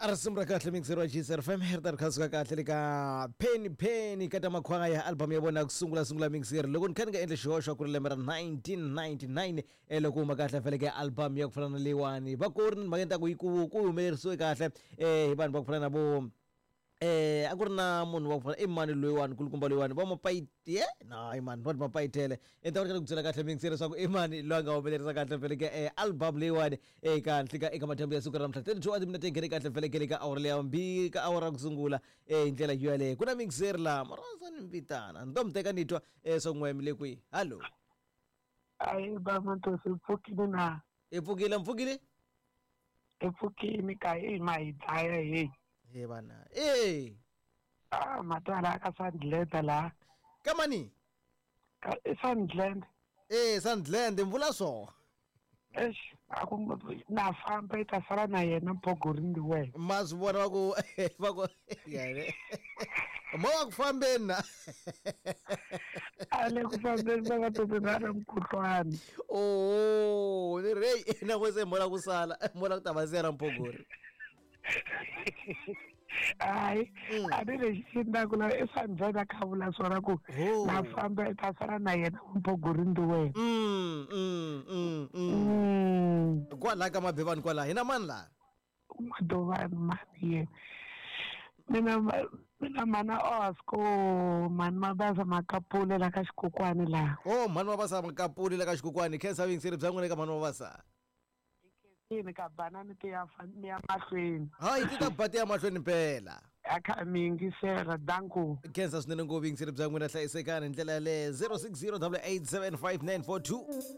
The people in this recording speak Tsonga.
A risimu ra kahle mixer wa GCR FM ri ta ri kha suka kahle le ka Penny Penny ka ta makhwaya album ya vona ku sungula sungula mixer loko ni kha ni nga endli xihoxo ku ri lembe ra 1999 e loko huma kahle feleke album ya ku fana na leyiwani va ku ri ni mhaka ta ku yi ku ku humelerisiwe kahle hi vanhu va ku fana na vo a ku ri na munhu wa ku fana i mani loyiwani kulukumba loyiwani va mapayite na i mani va mapayitele i ta ku byela kahle mixer leswaku i mani loyi a nga humelerisa kahle feleke album leyiwani eka nhlika eka madyambu ya siku ra namuntlha 32 wa timinete yi nghene kahle felekele ka awara leya mbirhi ka awara ku sungula hi ndlela yo yaleyo ku na mixer laha marhandza ni mbitana ni to mi teka ni twa swa n'we mi le kwihi hallo. Ayi bamatosi pfukile na. I pfukile mpfukile. I pfukile ka hi ma hi dlaya hey. He vana e Ah matala ka Sandland la. Ka mani? Ka i Sandland. E Sandland mvula swo. Eish a ku na famba i ta sala na yena mpogori ndi wena. Ma swi vona va ku yene mo va ku fambeni na. A le ku fambeni va va tobe na ri mukhuhlwani. Oh ni ri hey na ku se mola ku sala mola ku ta va siyana mpogori. Hayi a ni lexi xi ndlaku la i Sandland a kha vula swona ku na famba i ta sala na yena mpogori ndi wena. Kwala ka mabevani kwala hina mani la? Madovani mani yena. Mina mana Osco mani Mabasa Makapule la ka xikokwani la. Oh mani Mabasa Makapule la ka xikokwani khensa vuyingiseri bya n'wina ka mani Mabasa. Yini ka banani ti ya ya mahlweni. Hayi ti ta ba ti ya mahlweni mpela. A kha mi yingisela danko. Khensa swinene ngopfu vuyingiseri bya n'wina hlayisekani hi ndlela yaleyo 060 887 5942.